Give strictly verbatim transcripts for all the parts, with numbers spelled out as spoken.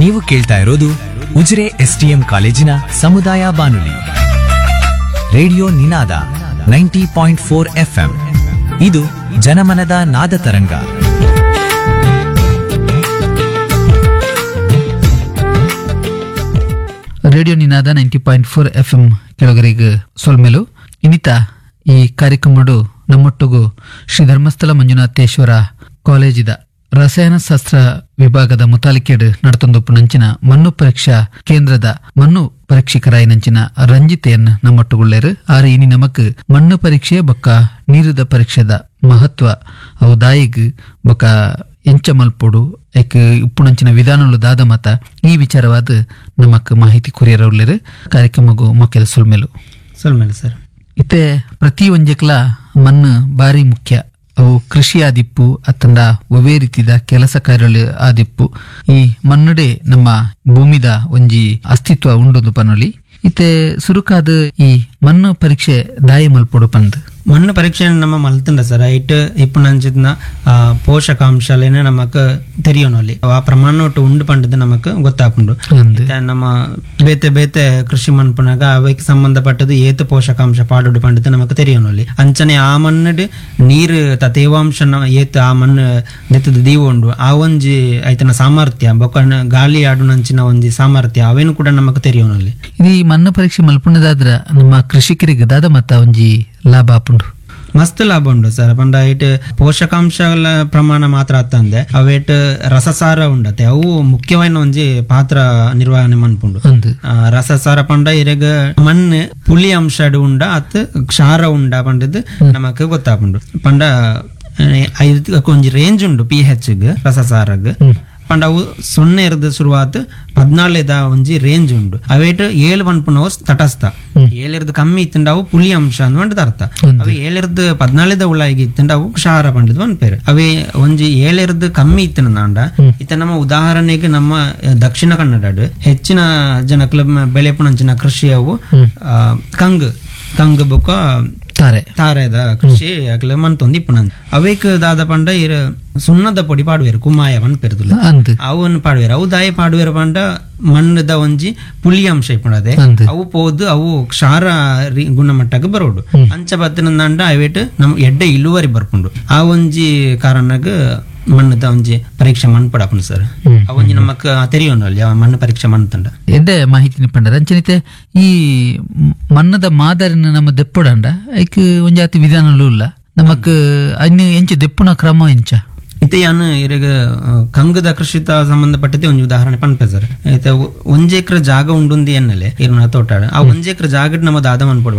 ನೀವು ಕೇಳ್ತಾ ಇರೋದು ಉಜಿರೆ ಎಸ್ಟಿಎಂ ಕಾಲೇಜಿನ ಸಮುದಾಯ ಬಾನುಲಿ radio Ninada ninety point four FM. ಇದು ಜನಮನದ ನಾದ ತರಂಗ. Radio Ninada ninety point four F M ಕೆಳಗರಿಗೆ ಸೊಲ್ಮೆಲು ಇನ್ನಿತ ಈ ಕಾರ್ಯಕ್ರಮಡು ನಮ್ಮೊಟ್ಟಿಗೂ ಶ್ರೀ ಧರ್ಮಸ್ಥಳ ಮಂಜುನಾಥೇಶ್ವರ ಕಾಲೇಜಿದ ರಸಾಯನಶಾಸ್ತ್ರ ವಿಭಾಗದ ಮುತಾಲಿಕೆಡ್ ನಡತೊಂದೊಪ್ಪು ನಂಚಿನ ಮಣ್ಣು ಪರೀಕ್ಷಾ ಕೇಂದ್ರದ ಮಣ್ಣು ಪರೀಕ್ಷಕರಾಯ ನಂಚಿನ ರಂಜಿತೆಯನ್ನು ನಮ್ಮೊಟ್ಟುಗುಳ್ಳೇರು. ಆರು ಇನಿ ನಮಕ್ ಮಣ್ಣು ಪರೀಕ್ಷೆ ಬೊಕ್ಕ ನೀರುದ ಪರೀಕ್ಷೆದ ಮಹತ್ವ ಅವು ದಾಯಿಗ್ ಬೊಕ್ಕ ಎಂಚ ಮಲ್ಪೊಡು ಐಕ್ ಉಪ್ಪುನಂಚಿನ ವಿಧಾನಲು ದಾದ ಮತ ಈ ವಿಚಾರವಾದ ನಮಕ್ ಮಾಹಿತಿ ಕೊರಿಯರ ಉಳ್ಳೇರು. ಕಾರ್ಯಕ್ರಮಗೂ ಮೊಕ್ಕೆದ ಸುಲ್ಮೇಲು. ಸೊಲ್ಮೇಲೆ ಸರ್. ಇತ್ತೆ ಪ್ರತಿ ಒಂಜೆಕ್ಲ ಮಣ್ಣು ಬಾರಿ ಮುಖ್ಯ. ಅವು ಕೃಷಿ ಆದಿಪ್ಪು ಅತ್ತಂಡ ಒವೇ ರೀತಿದ ಕೆಲಸ ಕಾರ್ಯಗಳು ಆದಿಪ್ಪು ಈ ಮಣ್ಣುಡೆ ನಮ್ಮ ಭೂಮಿದ ಒಂಜಿ ಅಸ್ತಿತ್ವ ಉಂಡೊಂದು ಪನೊಲಿ. ಇತ್ತೆ ಸುರುಕಾದ ಈ ಮಣ್ಣು ಪರೀಕ್ಷೆ ದಾಯಿ ಮಲ್ಪೊಡು ಪಂದ್ ಮಣ್ಣು ಪರೀಕ್ಷೆ ನಮ್ಮ ಮಲ್ತಂಡ ಸರ್ ಐಟ್ ಇಪ್ಪುನಂಚಿನ ಪೋಷಕಾಂಶಲೇನೆ ನಮಕ್ ತೆರಿಯೋನಲ್ಲಿ ಆ ಪ್ರಮಾಣ ಒಟ್ಟು ಉಂಡು ಪಂಡದು ನಮಕ್ ಗೊತ್ತಾಪುಂಡು. ಅಂದ್. ಇತ್ತೆ ನಮ್ಮ ಬೇತೆ ಬೇತೆ ಕೃಷಿ ಮನ್ಪುನಾಗ ಅವೆಕ್ ಸಂಬಂಧಪಟ್ಟದು ಏತು ಪೋಷಕಾಂಶ ಪಾಡುಡು ಪಂಡದು ನಮಕ್ ತೆರಿಯೋನಲ್ಲಿ. ಅಂಚನೆ ಆ ಮಣ್ಣು ನೀರು ತ ತೇವಾಂಶ ಏತು ಆ ಮಣ್ಣು ನೆತ್ತದ ದೀವ ಉಂಡು ಆ ಒಂಜಿ ಐತನ ಸಾಮರ್ಥ್ಯ ಬೊಕ್ಕ ಗಾಳಿ ಆಡುನಂಚಿನ ಒಂಜಿ ಸಾಮರ್ಥ್ಯ ಅವೇನು ಕೂಡ ನಮಕ್ ತೆರಿಯೋನಲ್ಲಿ. ಇದು ಈ ಮಣ್ಣು ಪರೀಕ್ಷೆ ಮಲ್ಪುಣದಾದ್ರ ನಮ್ಮ ಕೃಷಿಕರಿಗೆ ದಾದ ಮತ್ತ ಒಂಜಿ ಲಾಭ ಆಪುಂಡು. ಮಸ್ತ್ ಲಾಭ ಉಂಡು ಸರ್. ಪಂಡ ಇಟ್ ಪೋಷಕಾಂಶಗಳ ಪ್ರಮಾಣ ಮಾತ್ರ ಅತ್ತಂದೆ ಅವೇಟ್ ರಸಸಾರ ಉಂಡತೆ ಅವು ಮುಖ್ಯವಾದ ಒಂಜಿ ಪಾತ್ರ ನಿರ್ವಹಣೆ ಮನ್ಪುಂಡು. ಅಂದ್. ಆ, ರಸಸಾರ ಪಂಡ ಇರೆಗ್ ಮಣ್ಣು ಪುಳಿ ಅಂಶ ಉಂಡ ಅತ್ ಕ್ಷಾರ ಉಂಡ ಪಂಡದ್ ನಮಕ್ ಗೊತ್ತಾಪುಂಡು. ಪಂಡ ಐದಕ್ಕೆ ಒಂಜಿ ರೇಂಜ್ ಉಂಡು ಪಿ ಹೆಚ್ ರಸಸಾರಗ್. ಪಂಡ ಅವು ಸೊನ್ನೆ ಇರ್ದು ಶುರುವಾತ್ ಪದ್ನಾಲೇದ ಒಂಜಿ ರೇಂಜ್ ಉಂಡು. ಅವೇಟ್ ಏಳು ಪನ್ಪುನವು ತಟಸ್ಥ, ಏಳಿರ್ದು ಕಮ್ಮಿ ಇತ್ತಂಡ ಅವು ಪುಳಿ ಅಂಶ ಅಂದ್ ಅರ್ಥ. ಅವು ಏಳಿರ್ದು ಪದ್ನಾಲೇದ ಉಳಾಗಿ ಇತ್ತಂಡ ಅವು ಕ್ಷಾರ ಪಂಡದ್ ಪನ್ಪೇರು. ಅವೇ ಒಂಜಿ ಏಳಿರ್ದು ಕಮ್ಮಿ ಇತ್ತಂಡ ಇತ್ತ ನಮ್ಮ ಉದಾಹರಣೆಗೆ ನಮ್ಮ ದಕ್ಷಿಣ ಕನ್ನಡ ಹೆಚ್ಚಿನ ಜನಕ್ಲ ಬೆಳೆಪುನಂಚಿನ ಕೃಷಿ ಅವು ಆ, ಕಂಗ್ ಕಂಗ್ ಬೊಕ್ಕ ತಾರೆ ತಾರೆದ ಕೃಷಿ ಅಕ್ಲೆ ಮನ್ತೊಂದು ಇಪ್ಪುನಂದ್. ಅವೇಕ್ ದಾದ ಪಂಡ ಇರ್ ಸುಣ್ಣದ ಪೊಡಿ ಪಾಡುವೆರು ಕುಮಾಯ ಪನ್ಪೆರ್ದುಲ್ಲ ಅಂದ್. ಅವನ್ ಪಾಡುವೆರು. ಅವು ದಾಯ ಪಾಡುವೆರು ಪಂಡ ಮಣ್ಣದ ಒಂಜಿ ಪುಳಿ ಅಂಶ ಇಪ್ಪುನದೆ ಅಂದ್. ಅವು ಪೋದು ಅವು ಕ್ಷಾರ ರಿ- ಗುಣಮಟ್ಟಕ್ಕೆ ಬರೋಡು. ಅಂಚ ಬತ್ತಿನಂದಾಂಡ ಅವೇಟ್ ನಮ್ ಎಡ್ಡೆ ಇಳುವರಿ ಬರ್ಪುಂಡು. ಆ ಒಂಜಿ ಕಾರಣಗ್ ಮಣ್ಣದ ಒಂಜಿ ಪರೀಕ್ಷೆ ಮಣ್ಣು ಪಡಪುಂಡು ಸರ್. ಆ ಒಂಜಿ ನಮಕ್ ತೆರಿಯೋನಲ್ಲಿ ಆ ಮಣ್ಣು ಪರೀಕ್ಷೆ ಮಣ್ಣು ತಂಡ. ಎಡ್ಡೆ ಮಾಹಿತಿನ ಪಂಡರ ಅಂಚನಿತೆ ಈ ಮಣ್ಣದ ಮಾದರಿನ ನಮ್ಮ ದೆಪ್ಪುಡಂಡ ಐಕ್ ಒಂಜಾತಿ ವಿಧಾನಲು ಇಲ್ಲ ನಮಕ್ ಅನ್ನು ಎಂಚ ದೆಪ್ಪುನ ಕ್ರಮ ಎಂಚ. ಇತ್ತೆ ಯಾನು ಇರಗ ಕಂಗದ ಕೃಷಿತ ಸಂಬಂಧಪಟ್ಟತೆ ಒಂಜಿ ಉದಾಹರಣೆ ಪನ್ಪೆ ಸರ್. ಇತ್ತೆ ಒಂಜಿ ಎಕರೆ ಜಾಗ ಉಂಡುಂದಿ ಎನ್ನಲೆ ಇರ್ನ ತೋಟ ಆ ಒಂಜಿ ಎಕರೆ ಜಾಗಡ್ ನಮ್ಮ ದಾದ ಮನ್ಪೊಡು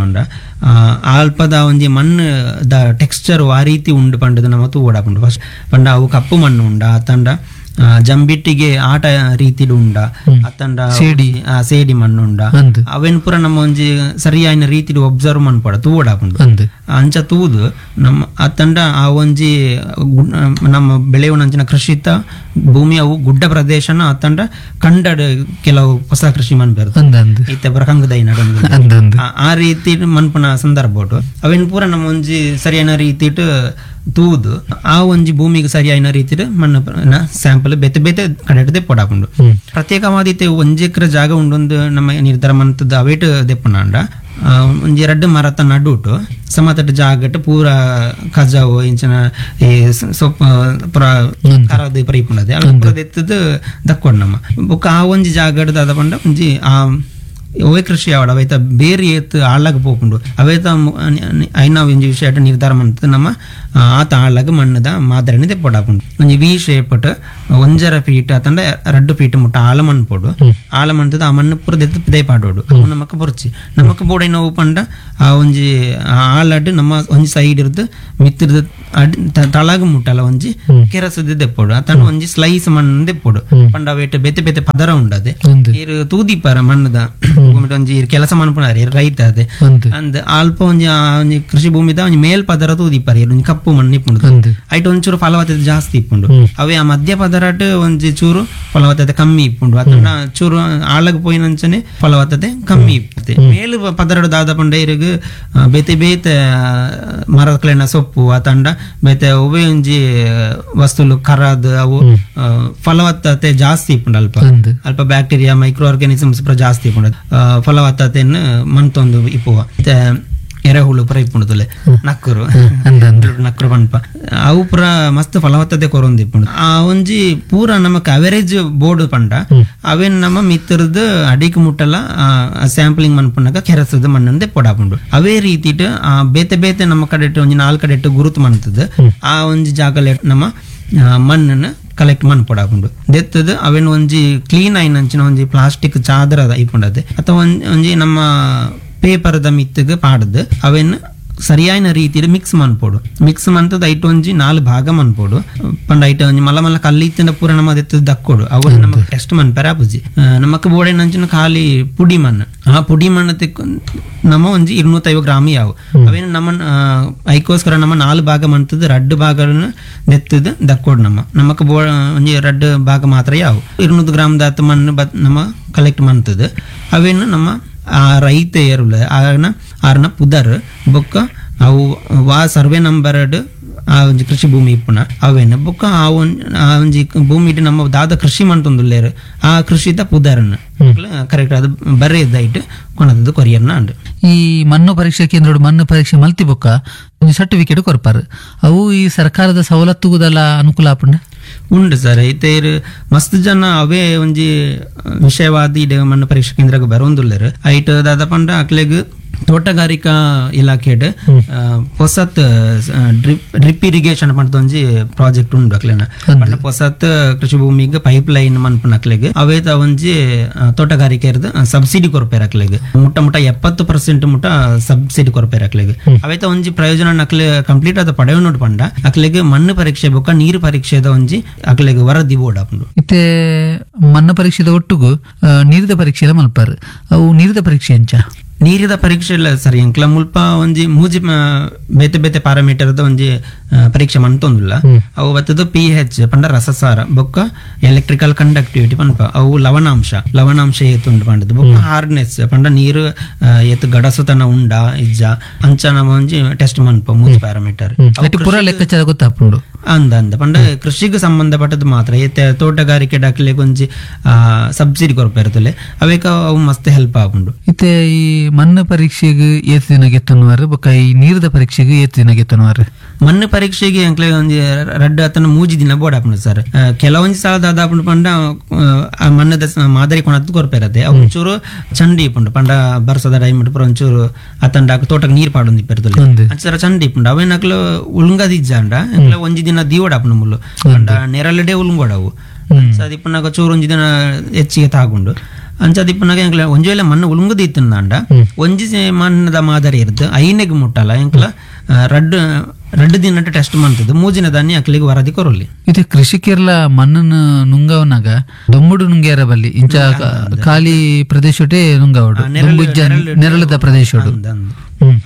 ಆ ಅಲ್ಪದ ಒಂಜಿ ಮಣ್ಣು the texture ಆ ರೀತಿ ಉಂಡು ಪಂಡದು ನಮ್ಮ ತೂವಡಾಪುಂಡು ಫಸ್ಟ್. ಪಂಡ ಅವು ಕಪ್ಪು ಮಣ್ಣು ಉಂಡ ತಂಡ ಜಂಬಿಟ್ಟಿಗೆ ಆಟ ರೀತಿಡ್ ಉಂಡ ಅತ್ತಂಡ ಸೇಡಿ. ಆ, ಸೇಡಿ ಮಣ್ಣು ಉಂಡ ಅಂದ್. ಅವೇನ್ ಪೂರ ನಮ್ಮ ಒಂಜಿ ಸರಿಯಾಯಿನ ರೀತಿಡ್ ಒಬ್ಸರ್ವ್ ಮನ್ಪೊಡ ತೂವಡಾಪುಂಡು. ಅಂದ್. ಅಂಚ ತೂದು ನಮ್ಮ ಅತ್ತಂಡ ಆ ಒಂಜಿ ಗು- ನಮ್ಮ ಬೆಳೆಯುವನಂಚಿನ ಕೃಷಿತ ಭೂಮಿ ಅವು ಗುಡ್ಡ ಪ್ರದೇಶನ ಅತ್ತಂಡ ಕಂಡಡ್ ಕೆಲವು ಹೊಸ ಕೃಷಿ ಮನ್ಪೆರ್ದು ಅಂದ್ ಅಂದ್. ಇತ್ತೆ ಪೂರ ಕಂಗದೈ ನಡೊಂದು ಅಂದ್ ಅಂದ್. ಆ- ಆ ರೀತಿ ಮನ್ಪುನ ಸಂದರ್ಭ ಉಂಟು. ಅವೇನ್ ಪೂರ ನಮ್ಮ ಒಂಜಿ ಸರಿಯಾದ ರೀತಿಟ್ ತೂದು ಆ ಒಂಜಿ ಭೂಮಿಗೆ ಸರಿಯಾದ ರೀತಿಡ್ ಮಣ್ಣು ಸ್ಯಾಂಪಲ್ ಬೇತೆ ಬೇತೆ ಕಡೆ ದೆಪ್ಪೊಡಾಪುಂಡು. ಪ್ರತ್ಯೇಕವಾದ ಇತ್ತೆ ಒಂಜಿ ಎಕರೆ ಜಾಗ ಉಂಡೊಂದು ನಮ್ಮ ನಿರ್ಧಾರ ಮಂತದ ಅವೇಟ್ ದೆಪ್ಪುನಾಂಡ ಆ, ಒಂಜಿ ರಡ್ಡು ಮರತ ನಡುಟು ಸಮತಟ್ಟ ಜಾಗಟ್ ಪೂರ ಕಜಾವು ಇಂಚಿನ ಈ ಸ- ಸೊಪ್ಪು ಪೂರ ಕರದು ಪೂರ ಇಪ್ಪುಂಡದೆ ಅಲ್ಪ ಪೂರ ದೆತ್ತದು ದಕ್ಕೊಡು ನಮ್ಮ. ಬೊಕ್ಕ ಆ ಒಂಜಿ ಜಾಗಡ್ ದಾದ ಪಂಡ ಒಂಜಿ ಆ ಒವೇ ಕೃಷಿ ಆವಡ ಅವೇತ ಬೇರೆ ಏತ್ ಆಳಾಗ ಪೋಪುಂಡು ಅವೇತ ಐನ ಒಂಜಿ ವಿಷಯ ನಿರ್ಧಾರ ಮಂತದ ನಮ್ಮ ಆ, ಆತ ಆಳಾಗ ಮಣ್ಣದ ಮಾದರಿನ ದೆಪ್ಪೊಡಾಪುಂಡು. ಒಂಜಿ ವಿ ಶೇಪಟ್ ಒಂಜರ ಫೀಟ್ ಅತಂಡ ರಡ್ಡು ಫೀಟ್ ಮುಟ್ಟ ಆಳ ಮಣ್ಣು ಪೋಡು. ಆಳ ಮಣ್ಣದ ಆ ಮಣ್ಣು ಪೂರ ದೆತ್ತು ಪಿದೈ ಪಾಡೋಡು. ಅವು ನಮಕ್ ಬೊರ್ಚಿ ನಮಕ್ ಬೋಡೈನ ಅವು ಪಂಡ ಆ ಒಂಜಿ ಆಳಡ್ ನಮ್ಮ ಒಂಜಿ ಸೈಡ್ ಇರ್ದು ಮಿತ್ತಿರ್ದು ಅಡ್ ತ- ತಳಗ ಮುಟ್ಟಲ ಒಂಜಿ ಕೆರಸದ ದೆಪ್ಪೊಡು ಅತಂಡ ಒಂಜಿ ಸ್ಲೈಸ್ ಮಣ್ಣು ದೆಪ್ಪೊಡು. ಪಂಡ ಅವೇಟ್ ಬೇತೆ ಬೇತೆ ಪದರ ಉಂಡದೆ ಅಂದ್. ಇರು ತೂದಿಪ್ಪರ ಮಣ್ಣದ ಭೂಮಿಡ್ ಒಂಜಿ ಇರ್ ಕೆಲಸ ಮನ್ಪುನಾರ್ ಇರ್ ರೈತ ಅದೆ ಅಂದ್. ಅಂದ್ ಅಲ್ಪ ಒಂಜಿ ಆ ಒಂಜಿ ಕೃಷಿ ಭೂಮಿದ ಒಂಜಿ ಮೇಲ್ ಪದರ ತೂದಿಪ್ಪರ ಇರ್ ಒಂಜಿ ಕಪ್ಪು ಮಣ್ಣು ಇಪ್ಪುಂಡು. ಅಂದ್. ಐಟ್ ಒಂಚೂರು ಫಲವತ್ತತೆ ಜಾಸ್ತಿ ಇಪ್ಪುಂಡು. ಅವೇ ಆ ಮಧ್ಯ ಪದರಟ್ ಒಂಜಿ ಚೂರು ಫಲವತ್ತತೆ ಕಮ್ಮಿ ಇಪ್ಪುಂಡು. ಅತಂಡ ಚೂರು ಆಳಗ್ ಪೋಯಿನಂಚನೆ ಫಲವತ್ತತೆ ಕಮ್ಮಿ ಇಪ್ಪುತ್ತೆ. ಮೇಲು ಪದರಡು ದಾದ ಪಂಡ ಇರುಗ್ ಬೇತೆ ಬೇತೆ ಮರಕ್ಲೆನ ಸೊಪ್ಪು ಅತಂಡ ಬೇತೆ ಒವ್ವೆ ಒಂಜಿ ವಸ್ತುಲು ಕರಾದ್ ಅವು ಫಲವತ್ತತೆ ಜಾಸ್ತಿ ಇಪ್ಪುಂಡು. ಅಲ್ಪ ಅಲ್ಪ bacteria micro organisms ಪೂರ ಜಾಸ್ತಿ ಇಪ್ಪುಂಡು, ಫಲವತ್ತತೆಯನ್ನು ಮನ್ತೊಂದು ಇಪ್ಪುವ. ಎರೆಹುಳು ಪೂರ ಇಪ್ಪುಂಡು, ನಕ್ಕರು ನಕ್ಕರು ಪನ್ಪ ಅವು ಪೂರ ಮಸ್ತ್ ಫಲವತ್ತತೆ ಕೊರೊಂದು ಇಪ್ಪುಂಡು. ಆ ಒಂಜಿ ಪೂರ ನಮಕ್ ಅವರೇಜ್ ಬೋರ್ಡ್ ಪಂಡ ಅವೇನ್ ನಮ್ಮ ಮಿತ್ರದ್ ಅಡಿಕ್ ಮುಟ್ಟಲ ಸ್ಯಾಂಪ್ಲಿಂಗ್ ಮನ್ಪುನಗ ಕೆರಸದ ಮಣ್ಣು ಪೊಡಾಪುಂಡು. ಅವೇ ರೀತಿಟ್ ಆ ಬೇತೆ ಬೇತೆ ನಮ್ಮ ಕಡೆಟ್ ಒಂಜಿ ನಾಲ್ಕು ಕಡೆಟ್ ಗುರುತು ಮನ್ತದ ಆ ಒಂಜಿ ಜಾಗಲೆ ನಮ್ಮ ಮಣ್ಣನ್ನು ಕಲೆಕ್ಟ್ ಮನ್ಪೊಡಾಪುಂಡು. ದೆತ್ತದ ಅವೇನ್ ಒಂಜಿ ಕ್ಲೀನ್ ಆಯಿನಂಚಿನ ಒಂಜಿ ಪ್ಲಾಸ್ಟಿಕ್ ಚಾದರ ಇಪ್ಪುಂಡದೆ ಅಥವಾ ಒಂಜಿ ನಮ್ಮ ಪೇಪರ್ದ ಮಿತ್ತಗ್ ಪಾಡ್ದು ಅವೇನ್ ಸರಿಯಾದ ರೀತಿಯಲ್ಲಿ ಮಿಕ್ಸ್ ಮನ್ಪೋಡು. ಮಿಕ್ಸ್ ಮಂತದ ಐಟ್ ಒಂಜಿ ನಾಲ್ ಭಾಗ ಮನ್ಪೋಡು. ಪಂಡ ಐಟ್ ಒಂಜಿ ಮಲ್ಲ ಮಲ್ಲ ಕಲ್ಲಿ ಇತ್ತಿನ ಪೂರ ನಮ್ಮ ದೆತ್ತದ ದಕ್ಕೋಡು ಅವು ನಮಕ್ ಟೆಸ್ಟ್ ಮನ್ಪೆರ ಆಪುಜಿ. ನಮಕ್ ಬೋಡೆನಂಚಿನ ಖಾಲಿ ಪುಡಿ ಮಣ್ಣು, ಆ ಪುಡಿ ಮಣ್ಣು ತೆಕ್ ನಮ್ಮ ಒಂಜಿ ഇരുന്നೂತೈವ ಗ್ರಾಮ್ ಯಾವು ಅವೇನು ನಮ್ಮ ಐಕೋಸ್ಕರ ನಮ್ಮ ನಾಲ್ ಭಾಗ ಮಂತದ ರಡ್ಡು ಭಾಗಗಳನ್ನು ದೆತ್ತದ ದಕ್ಕೋಡು. ನಮ್ಮ ನಮಕ್ ಬೋ ಒಂಜಿ ರಡ್ಡು ಭಾಗ ಮಾತ್ರ ಯಾವು ഇരുന്നೂರು ಗ್ರಾಮ್ ದಾತ ಮಣ್ಣು ನಮ್ಮ ಕಲೆಕ್ಟ್ ಮಂತದ ಅವೇನು ನಮ್ಮ ಆ ರೈತ ಏರುಲ ಆನ ಆರ್ನ ಪುದರ್ ಬೊಕ್ಕ ಅವು ವಾ ಸರ್ವೆ ನಂಬರ್ ಆ ಒಂಜಿ ಕೃಷಿ ಭೂಮಿ ಇಪ್ಪುನ ಅವೇನು ಬೊಕ್ಕ ಆ ಒಂಜಿ ಭೂಮಿ ನಮ್ಮ ದಾದ ಕೃಷಿ ಮಂತೊಂದುಲ್ಲೇರು ಆ ಕೃಷಿದ ಪುದರ್ನ ಕರೆಕ್ಟ್ ಅದು ಬರೆಯದ್ದಾಯ್ತು ಕೊನದದ್ದು ಕೊರಿಯರ್ನ ಅಂಡು. ಈ ಮಣ್ಣು ಪರೀಕ್ಷಾ ಕೇಂದ್ರ ಮಣ್ಣು ಪರೀಕ್ಷೆ ಮಲ್ತಿ ಬೊಕ್ಕ ಒಂಜಿ ಸರ್ಟಿಫಿಕೇಟ್ ಕೊರ್ಪಾರು, ಅವು ಈ ಸರ್ಕಾರದ ಸವಲತ್ತುಗುದಲ್ಲ ಅನುಕೂಲ ಆಪುಂಡ ಉಂಡು ಸರ್. ಇತ್ತೆ ಮಸ್ತ್ ಜನ ಅವೇ ಒಂಜಿ ವಿಷಯವಾದ ಇಡೆ ಮಣ್ಣು ಪರೀಕ್ಷಾ ಕೇಂದ್ರಕ್ಕೆ ಬರೋಂದುಲ್ಲೇರು. ಐಟ್ ದಾದ ಪಂಡ ಅಕ್ಲೆಗ್ ತೋಟಗಾರಿಕಾ ಇಲಾಖೆಡ್ ಪೊಸತ್ drip drip irrigation ಪಂಡ ಒಂಜಿ ಪ್ರಾಜೆಕ್ಟ್ ಉಂಡು ಅಕ್ಲೆನ. ಪಂಡ ಪೊಸತ್ ಕೃಷಿ ಭೂಮಿಗೆ ಪೈಪ್ ಲೈನ್ ಮನ್ಪುನ ಅಕ್ಲೆಗ್ ಅವೇತ ಒಂಜಿ ತೋಟಗಾರಿಕೆ ಸಬ್ಸಿಡಿ ಕೊರ್ಪೇರು ಅಕ್ಲೆಗ್ ಮುಟ್ಟ ಮುಟ್ಟ ಎಪ್ಪತ್ತು ಪರ್ಸೆಂಟ್ ಮುಟ್ಟ ಸಬ್ಸಿಡಿ ಕೊರ್ಪೇರು ಅಕ್ಲೆಗ್. ಅವೇತ ಒಂಜಿ ಪ್ರಯೋಜನ ಅಕ್ಲೆ ಕಂಪ್ಲೀಟ್ ಆದ ಪಡೆಯೋನು ಪಂಡ ಅಕ್ಲೆಗ್ ಮಣ್ಣು ಪರೀಕ್ಷೆ ಬೊಕ್ಕ ನೀರು ಪರೀಕ್ಷೆದ ಒಂಜಿ ಅಕ್ಲೆಗ್ ವರದಿ ಬೋರ್ಡ್ ಆಪುಂಡು. ಇತ್ತೆ ಮಣ್ಣು ಪರೀಕ್ಷೆದ ಒಟ್ಟುಗು ನೀರಿದ ಪರೀಕ್ಷೆ ಮಲ್ಪಾರು, ಅವು ನೀರಿದ ಪರೀಕ್ಷೆ ಎಂಚ? ನೀರಿದ ಪರೀಕ್ಷೆ ಇಲ್ಲ ಸರ್. ಎಂಕ್ಲ ಮುಲ್ಪ ಒಂಜಿ ಮೂಜಿ ಬೇತೆ ಬೇತೆ ಪ್ಯಾರಾಮೀಟರ್ದ ಒಂಜಿ ಪರೀಕ್ಷೆ ಮಂತೊಂದುಲ್ಲ. ಅವು ಬತ್ತದ ಪಿ ಎಚ್ ಪಂಡ ರಸಸಾರ ಬೊಕ್ಕ ಎಲೆಕ್ಟ್ರಿಕಲ್ ಕಂಡಕ್ಟಿವಿಟಿ ಪನ್ಪ ಅವು ಲವಣಾಂಶ ಲವಣಾಂಶ ಏತುಂಡು ಪಂಡದು ಬೊಕ್ಕ ಹಾರ್ಡ್ನೆಸ್ ಪಂಡ ನೀರು ಏತು ಗಡಸುತನ ಉಂಡ ಇಜ್ಜ ಅಂಚ ನಮ್ಮ ಒಂಜಿ ಟೆಸ್ಟ್ ಮನ್ಪ ಮೂಜಿ ಪ್ಯಾರಾಮೀಟರ್ ಪೂರ ಲೆಕ್ಕಾಚಾರ ಗೊತ್ತಾಪುಂಡು ಅಂದ ಅಂದ ಪಂಡ ಕೃಷಿಗೆ ಸಂಬಂಧಪಟ್ಟದ್ದು ಮಾತ್ರ. ಏತೆ ತೋಟಗಾರಿಕೆ ಡಾಕ್ಲೆ ಒಂಜಿ ಸಬ್ಸಿಡಿ ಕೊರ್ಪೇರ್ತಲೆ ಅವೇಕ ಅವು ಮಸ್ತ್ ಹೆಲ್ಪ್ ಆಪುಂಡು. ಇತ್ತೆ ಈ ಮಣ್ಣು ಪರೀಕ್ಷೆಗೆ ಏತ್ ದಿನ ಗೆತ್ತನುವಾರು ಬೊಕ್ಕ ಈ ನೀರದ ಪರೀಕ್ಷೆಗೆ ಏತ್ ದಿನ ಗೆತ್ತನುವಾರು? ಮಣ್ಣು ಪರೀಕ್ಷೆಗೆ ಅಂಕ್ಲೆ ಒಂಜಿ ರಡ್ಡು ಅತನ ಮೂಜಿ ದಿನ ಬೋರ್ಡ್ ಆಪುಂಡು ಸರ್. ಕೆಲವೊಂಜಿ ಸಲ ದಾದಾಪುಂಡು ಪಂಡ ಆ ಮಣ್ಣದ ಮಾದರಿ ಕೊಣದ್ದು ಕೊರ್ಪೇರತ್ತೆ ಅವು ಒಂಚೂರು ಚಂಡಿ ಇಪ್ಪುಂಡು ಪಂಡ ಬರ್ಸದ ಟೈಮ್ ಪೂರ ಒಂಚೂರು ಅತಂಡ ತೋಟಕ್ಕೆ ನೀರು ಪಾಡೊಂದು ಇಪ್ಪೆರ್ತಲೆ ಅಂಚರ ಚಂಡಿ ಇಪ್ಪುಂಡು ಅವೇನಕ್ಲು ಉಳುಂಗದಿಜ್ಜಾಂಡ ಅಂಕ್ಲೆ ಒಂಜಿ ದಿನ ದೀವಡಾಪುಂಡು ಮುಲ್ಲು ಪಂಡ ನೆರಳಡೆ ಉಳುಂಗೋಡವು ಅಂಚ ಚೂರು ಒಂಜಿ ದಿನ ಹೆಚ್ಚಿಗೆ ತಾಗುಂಡು. ಅಂಚದಿಪ್ಪನಾಗ ಎಂಕ್ಲ ಒಂಜಿ ವೇಳೆ ಮಣ್ಣು ಉಳುಂಗುದು ಇತ್ತಂಡ ಒಂಜಿ ಮಣ್ಣದ ಮಾದರಿ ಇರ್ತದೆ ಐನೆಗ್ ಮುಟ್ಟಲ್ಲ ಎಂಕ್ಲ ರಡ್ಡು ರಡ್ಡು ದಿನ ಟೆಸ್ಟ್ ಮಾಡ್ತದೆ ಮೂಜಿನ ದಾನಿ ಅಕ್ಲಿಗೆ ವರದಿ ಕೊರಲಿ. ಇದು ಕೃಷಿಕರ್ಲ ಮಣ್ಣನ್ನು ನುಂಗವನಾಗ ದೊಂಬುಡು ನುಂಗ್ಯಾರ ಬಲ್ಲಿ ಇಂಚ ಖಾಲಿ ಪ್ರದೇಶಟೇ ನುಂಗವಡು ನೆರಳದ ಪ್ರದೇಶಡು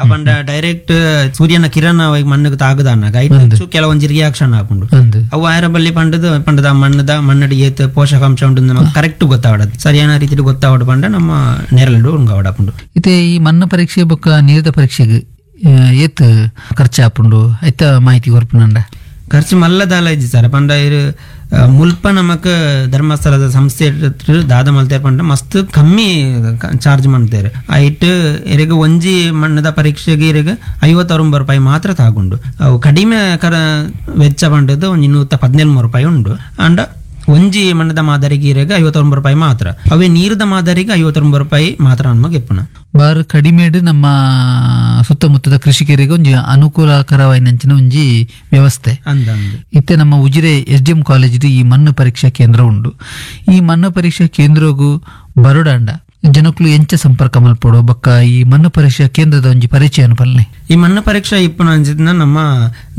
ಅಪಂಡ ಡೈರೆಕ್ಟ್ ಸೂರ್ಯನ ಕಿರಣ ಮಣ್ಣಿಗೆ ತಾಗದಾನಾಗ ಐತು ಕೆಲವೊಂಜಿ ರಿಯಾಕ್ಷನ್ ಆಪುಂಡು ಅವು ಆಯರ ಬಲ್ಲಿ ಪಂಡದ ಪಂಡದ ಮಣ್ಣದ ಮಣ್ಣಡಿ ಏತ್ ಪೋಷಕಾಂಶ ಉಂಟು ನಮಗೆ ಕರೆಕ್ಟ್ ಗೊತ್ತಾವಡದು ಸರಿಯಾದ ರೀತಿಯಲ್ಲಿ ಗೊತ್ತಾವಡು ಪಂಡ ನಮ್ಮ ನೆರಳು ಉಂಗವಡಪುಂಡು. ಇತ್ತೆ ಈ ಮಣ್ಣು ಪರೀಕ್ಷೆ ಬೊಕ್ಕ ನೀರಿದ ಪರೀಕ್ಷೆಗೆ ಏತ್ ಖರ್ಚು ಆಪುಂಡು ಐತ ಮಾಹಿತಿ ಕೊರ್ಪುನಂಡ? ಖರ್ಚು ಮಲ್ಲದಾಲ ಇಜ್ಜಿ ಸರ್. ಪಂಡ ಇರು ಮುಲ್ಪ ನಮಕ್ ಧರ್ಮಸ್ಥಳದ ಸಂಸ್ಥೆ ದಾದ ಮಲ್ತೇರ್ ಪಂಡ ಮಸ್ತ್ ಕಮ್ಮಿ ಚಾರ್ಜ್ ಮಾಡ್ತೇವೆ. ಐಟ್ ಇರಗ ಒಂಜಿ ಮಣ್ಣದ ಪರೀಕ್ಷೆಗೆ ಇರಗ ಐವತ್ತೊಂಬತ್ತು ರೂಪಾಯಿ ಮಾತ್ರ ತಾಗುಂಡು. ಅವು ಕಡಿಮೆ ಕರ ವೆಚ್ಚ ಪಂಡದ್ದು ಒಂಜಿ ನೂತ ಪದಿನೇಳು ರೂಪಾಯಿ ಉಂಡು. ಅಂಡ ಒಂಜಿ ಮಣ್ಣದ ಮಾದರಿಗೆ ಇರಗ ಐವತ್ತೊಂಬತ್ತು ರೂಪಾಯಿ ಮಾತ್ರ, ಅವೇ ನೀರದ ಮಾದರಿಗೆ ಐವತ್ತೊಂಬತ್ತು ರೂಪಾಯಿ ಮಾತ್ರ ನಮಗೆ ಇಪ್ಪುನ. ಬಾರು ಕಡಿಮೆಡು ನಮ್ಮ ಸುತ್ತಮುತ್ತದ ಕೃಷಿಕರಿಗೆ ಒಂಜಿ ಅನುಕೂಲಕರವಾಯಿನಂಚಿನ ಒಂಜಿ ವ್ಯವಸ್ಥೆ ಅಂದ. ಇತ್ತೆ ನಮ್ಮ Ujire S D M college ಈ ಮಣ್ಣು ಪರೀಕ್ಷಾ ಕೇಂದ್ರ ಉಂಡು. ಈ ಮಣ್ಣು ಪರೀಕ್ಷಾ ಕೇಂದ್ರಗೂ ಬರೋಡಾಂಡ ಜನಕ್ಕಳು ಎಂಚ ಸಂಪರ್ಕ ಮಲ್ಪೊಡು ಬೊಕ್ಕ ಈ ಮಣ್ಣು ಪರೀಕ್ಷಾ ಕೇಂದ್ರದ ಒಂಜಿ ಪರಿಚಯ ಪಲ್ಲೆ? ಈ ಮಣ್ಣು ಪರೀಕ್ಷಾ ಇಪ್ಪುನ ಅಂಚಿನ ನಮ್ಮ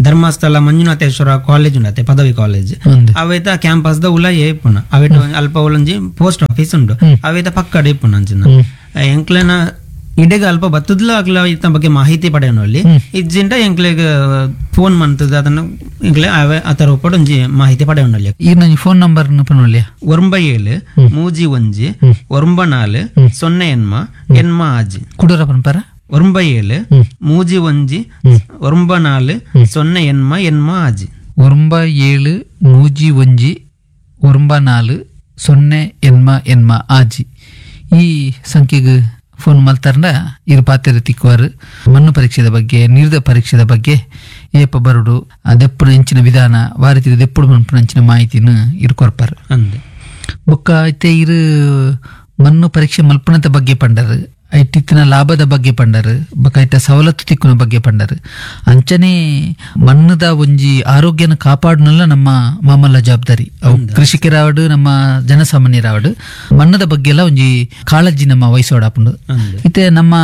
ಧರ್ಮಸ್ಥಳ ಮಂಜುನಾಥೇಶ್ವರ ಕಾಲೇಜ್ ಉಂಡತೆ ಪದವಿ ಕಾಲೇಜ್ ಅವೇತ ಕ್ಯಾಂಪಸ್ ದ ಉಲ ಇಪ್ಪುನ ಅವೇಟ ಅಲ್ಪ ಉಲಂಜಿ ಪೋಸ್ಟ್ ಆಫೀಸ್ ಉಂಡು ಅವೇತ ಪಕ್ಕಡೆ ಇಪ್ಪುನ ಅಂಚಿನ. ಎಂಕ್ಲೆನ ಇಡೆಗ ಅಲ್ಪ ಬತ್ತದ್ಲ ಅಕ್ಲ ಇತ್ತ ಬಗ್ಗೆ ಮಾಹಿತಿ ಪಡೆಯೋನಲ್ಲಿ ಇಜ್ಜಿಂಡ ಎಂಕ್ಲೆಗ್ ಫೋನ್ ಮಂತದ ಅದನ್ನ ಎಂಕ್ಲೆ ಆವೆ ಆತರ ಒಪ್ಪಡು ಒಂಜಿ ಮಾಹಿತಿ ಪಡೆಯೋನಲ್ಲಿ. ಈ ನನ್ನ ಫೋನ್ ನಂಬರ್ ಪನೊಲ್ಯ? ಒರಂಬ ಏಳು ಮೂಜಿ ಒಂಜಿ ಒರಂಬ ನಾಲು ಸೊನ್ನೆ ಎನ್ಮ ಎನ್ಮ ಆಜಿ. ಕುಡೂರ ಪನ್ಪರ? ಒರಂಬ ಏಳು ಮೂಜಿ ಒಂಜಿ ಒರಂಬ ನಾಲು ಸೊನ್ನೆ ಎನ್ಮ ಎನ್ಮ ಆಜಿ. ಒಂಬ ಏಳು ಮೂಜಿ ಒಂಜಿ ಒಂಬ ನಾಲು ಸೊನ್ನೆ ಎನ್ಮ ಎನ್ಮ ಆಜಿ ಈ ಸಂಖ್ಯೆಗೆ ಫೋನ್ ಮಲ್ತಾರಂಡ ಇರು ಪಾತ್ರೆ ತಿಕ್ಕುವಾರು. ಮಣ್ಣು ಪರೀಕ್ಷೆದ ಬಗ್ಗೆ, ನೀರ್ದ ಪರೀಕ್ಷೆದ ಬಗ್ಗೆ, ಏಪ ಬರುಡು, ಆ ದೆಪ್ಪುನ ಎಂಚಿನ ವಿಧಾನ, ವಾರತಿದ ದೆಪ್ಪುಡು ಮನ್ಪುನ ಅಂಚಿನ ಮಾಹಿತಿನ ಇರು ಕೊರ್ಪಾರು. ಅಂದೆ ಬೊಕ್ಕ ಐತೆ ಇರು ಮಣ್ಣು ಪರೀಕ್ಷೆ ಮಲ್ಪುನದ ಬಗ್ಗೆ ಪಂಡರು, ಐಟಿತ್ತಿನ ಲಾಭದ ಬಗ್ಗೆ ಪಂಡರು, ಬೊಕ್ಕ ಐತ ಸವಲತ್ತು ತಿಕ್ಕುನ ಬಗ್ಗೆ ಪಂಡರು. ಅಂಚನೆ ಮಣ್ಣದ ಒಂಜಿ ಆರೋಗ್ಯನ ಕಾಪಾಡುನಲ್ಲ ನಮ್ಮ ಮಾಮಲ್ಲ ಜವಾಬ್ದಾರಿ. ಅವು ಕೃಷಿಕರಾವಡು ನಮ್ಮ ಜನಸಾಮಾನ್ಯರಾವಡು ಮಣ್ಣದ ಬಗ್ಗೆ ಎಲ್ಲ ಒಂಜಿ ಕಾಳಜಿ ನಮ್ಮ ವಹಿಸೋಡಾಪುಂಡು. ಅಂದೆ ಇತ್ತೆ ನಮ್ಮ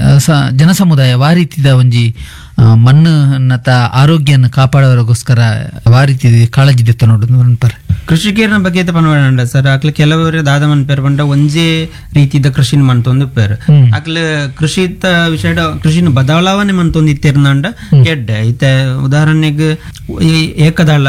ಆ, ಸ- ಜನಸಮುದಾಯ ವಾರೀತಿದ ಒಂಜಿ ಆ, ಮಣ್ಣನ್ನತ ಆರೋಗ್ಯನ ಕಾಪಾಡೋರಿಗೋಸ್ಕರ ವಾರೀತಿ ಕಾಳಜಿ ದೆತ್ತ ನೋಡು ಪರ. ಕೃಷಿಕರನ ಬಗ್ಗೆ ಪನ್ವಡ ಸರ್, ಅಕ್ಲ ಕೆಲವರು ದಾದ ಮನ್ಪೇರ್ ಪಂಡ ಒಂಜೇ ರೀತಿದ ಕೃಷಿನ ಮಂತೊಂದು ಪೇರ್. ಅಕ್ಲ ಕೃಷಿತ ವಿಷಯ ಕೃಷಿನ ಬದಲಾವಣೆ ಮಂತೊಂದು ಇತ್ತಿರ್ನಂಡ ಎಡ್ಡೆ. ಇತ್ತೆ ಉದಾಹರಣೆಗೆ ಈ ಏಕದಳ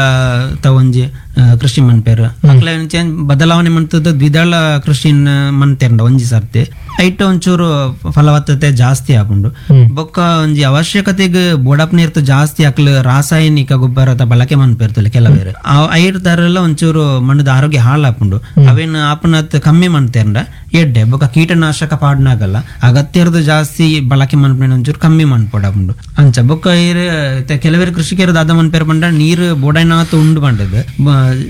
ತ ಒಂಜಿ ಆ, ಕೃಷಿ ಮನ್ಪೇರ್ ಅಕ್ಲ ಚೇಂಜ್ ಬದಲಾವಣೆ ಮಂತದ ದ್ವಿದಳ ಕೃಷಿನ ಮಂತೇರ್ಂಡ ಒಂಜಿ ಸರ್ತಿ ಐಟ್ ಒಂಚೂರು ಫಲವತ್ತತೆ ಜಾಸ್ತಿ ಆಪುಂಡು. ಬೊಕ್ಕ ಒಂಜಿ ಅವಶ್ಯಕತೆಗೆ ಬೋಡಪ್ ನೀರ್ತ ಜಾಸ್ತಿ ಅಕ್ಲ ರಾಸಾಯನಿಕ ಗೊಬ್ಬರದ ಬಳಕೆ ಮನ್ಪೇರ್ತಲ್ಲ ಕೆಲವೇರು, ಐರ್ ತರಲ್ಲ ಒಂಚೂರು ಮಣ್ಣದ ಆರೋಗ್ಯ ಹಾಳಾಪುಂಡು. ಅವೇನು ಆಪುನತ್ ಕಮ್ಮಿ ಮನ್ತೇರ್ಂಡ ಎಡ್ಡೆ. ಬೊಕ್ಕ ಕೀಟನಾಶಕ ಪಾಡ್ನಾಗಲ್ಲ ಅಗತ್ಯರ್ದು ಜಾಸ್ತಿ ಬಳಕೆ ಮನ್ಪೇನ ಒಂಚೂರು ಕಮ್ಮಿ ಮನ್ಪೊಡಾಪುಂಡು ಅಂಚ. ಬೊಕ್ಕ ಇರ್ ಕೆಲವೇರು ಕೃಷಿಕರು ದಾದ ಮನ್ಪೇರ್ ಪಂಡ ನೀರು ಬೋಡೈನಾತ್ ಉಂಡು ಪಂಡದು